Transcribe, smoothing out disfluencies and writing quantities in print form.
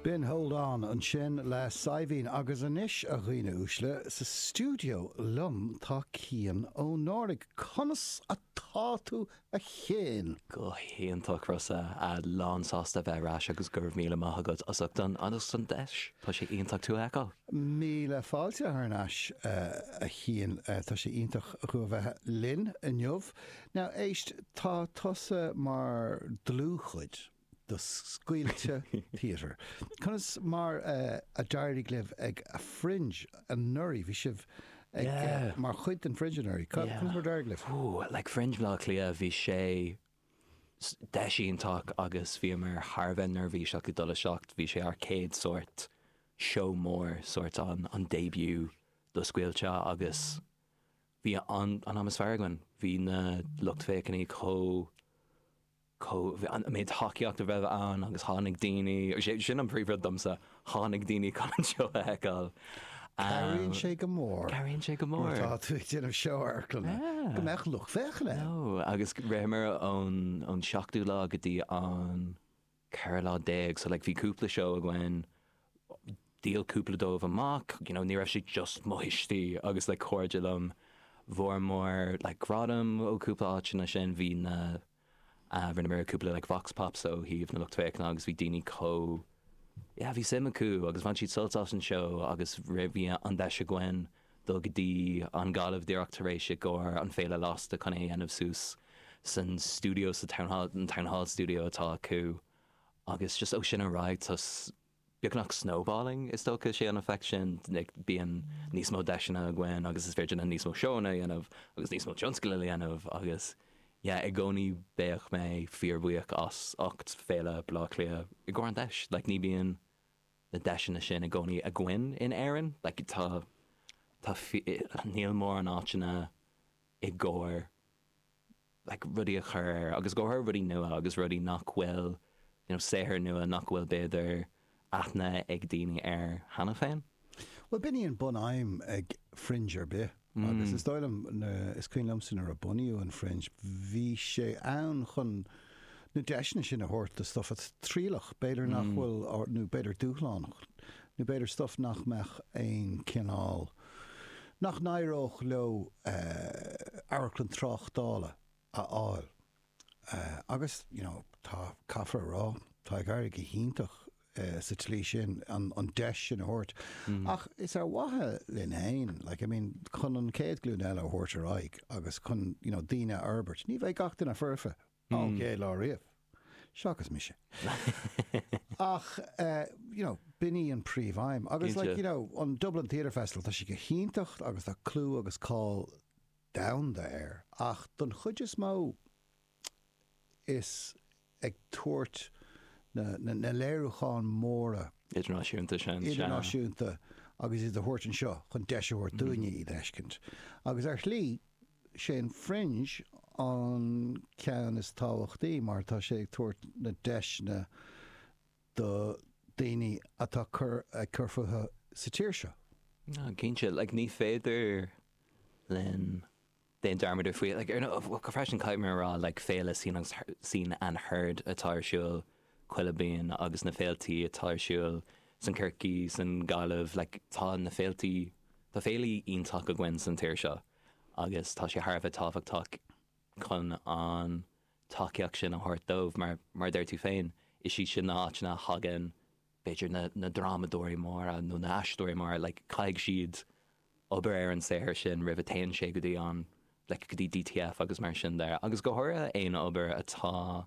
B'in Hold On ansin le Saidhbhín agus anois, a dhaoine uaisle, sa stiúideo liom tá Cian Ó Náraigh. Conas atá tú, a Chiain? Go hiontach, Rossa. Lán sásta a bheith ar ais agus go raibh míle maith agat as ucht an as an deis. Tá sé iontach tú a fheiceáil. Míle fáilte thar n-ais, a Chiain. Tá sé iontach thú a bheith linn inniu. Now, éist, tá tusa mar dlúthchuid de Scaoilte Theatre. Conas mar a d'éirigh libh ag Fringe anuraidh? Bhí sibh ag mar chuid den Fringe anuraidh. Conas mar a d'éirigh libh? Ooh, like Fringe Bhaile Átha Cliath, bhí sé deis iontach agus bhíomar thar a bheith neirbhíseach ag dul isteach. Bhí sé ár céad sórt seó mór, sórt an an debut do Scaoilte agus bhí an an am is fearr againn. Bhí na lucht féachana chomh chomh, an méid tacaíocht a raibh ann agus tháinig daoine, sin an príomhrud domsa, tháinig daoine chun an seó a fheiceáil. Cabhraíonn sé go mór. Cabhraíonn sé go mór. Nuair atá tú ag déanamh seó amharclainne, go mbeadh lucht féachana ann. No, agus ritheamar ón ón seachtú lá go dtí an 14 lá, so like bhí cúpla seó againn, dhíol cúpla dóibh amach, you know, ní raibh sé just mo thuistí agus like cairde liom, bhuamar like gradam ó cúpla áiteanna sin, bhí na, uh, rinneamar cúpla like vox pops ó thaobh na lucht féachana agus bhí daoine chomh, yeah, bhí suim acu agus bhain siad sult as an seó agus bhí an deis againn dul go dtí an Ghaillimh díreach tar éis i gcomhair an Féile Lasta chun é a dhéanamh suas san stiúideo sa Town Hall, an Town Hall Studio atá acu agus just ó sin ar aghaidh tá beagnach snowballing is dócha sé an effect sin, like bíonn níos mó deiseanna againn agus is féidir linn níos mó seóanna a dhéanamh agus níos mó tionscadail a dhéanamh agus yeah i gcónaí beidh mé fíorbhuíoch as ucht Féile Bhaile Átha Cliath i gcomhair an deis, like ní bíonn na deiseanna sin i gcónaí againn in Éirinn. Like tá, tá, níl mórán áiteanna i gcomhair like rudaí a chur ar agus go háirithe rudaí nua agus rudaí nach bhfuil, you know, saothar nua nach bhfuil b'fhéidir aithne ag daoine air cheana féin. Bhuel, b'in í an bun-aidhm ag Fringe ar bith agus is dóigh liom, is cuimhin liomsa nuair a bunaíodh an Fringe, bhí sé ann chun na deiseanna sin a thabhairt do stuff atá trialach, b'fhéidir nach bhfuil, nó b'fhéidir dúshlánach, nó b'fhéidir stuff nach mbeadh aon chineál, nach n-éireodh leo amharclann tráchtála a fháil. Agus, you know, tá, caithfear a rá, tá ag éirí go hiontach sa tslí sin, an deis sin a thabhairt. Ach is ar mhaithe linn fhéin, like, I mean, chun an chéad ghlúin eile a thabhairt ar aghaidh agus chun, you know, daoine a fhorbairt. Ní bheidh gach duine foirfe ón gcéad lá riamh, seachas mise. Ach, you know, b'in í an príomh-aidhm. Agus, like, you know, an Dublin Theatre Festival, tá sé go hiontach agus tá clú agus cáil domhanda air, ach don chuid is mó, is ag tabhairt na léiriúcháin móra. Idirnáisiúnta sin, sea. Idirnáisiúnta agus iad a thabhairt anseo chun deis a thabhairt dúinne iad a fheiscint. Agus ar shlí, sé an Fringe an ceann is tábhachtaí mar tá sé ag tabhairt na deiseanna do daoine atá ag cur fúthu sa tír seo. Cinnte, like ní féidir linn déan dearmad ar faoi, like ar ndóigh, freisin caithfidh mé a rá, like féile Scene agus Scene and Heard atá ar siúl chuile bliain agus na féiltí atá ar siúl san Corcaigh, san Gaillimh, like tá na féiltí, tá féilí iontach againn san tír seo agus tá sé thar a bheith tábhachtach chun an tacaíocht sin a thabhairt dóibh mar, mar a deir tú féin, is iad sin na háiteanna a thagann b'fhéidir na, na drámadóirí móra nó na aisteoirí móra, like caithfidh siad obair ar an saothar sin roimh a téann sé go dtí an, like go dtí DTF agus mar sin de agus go háirithe aon obair atá.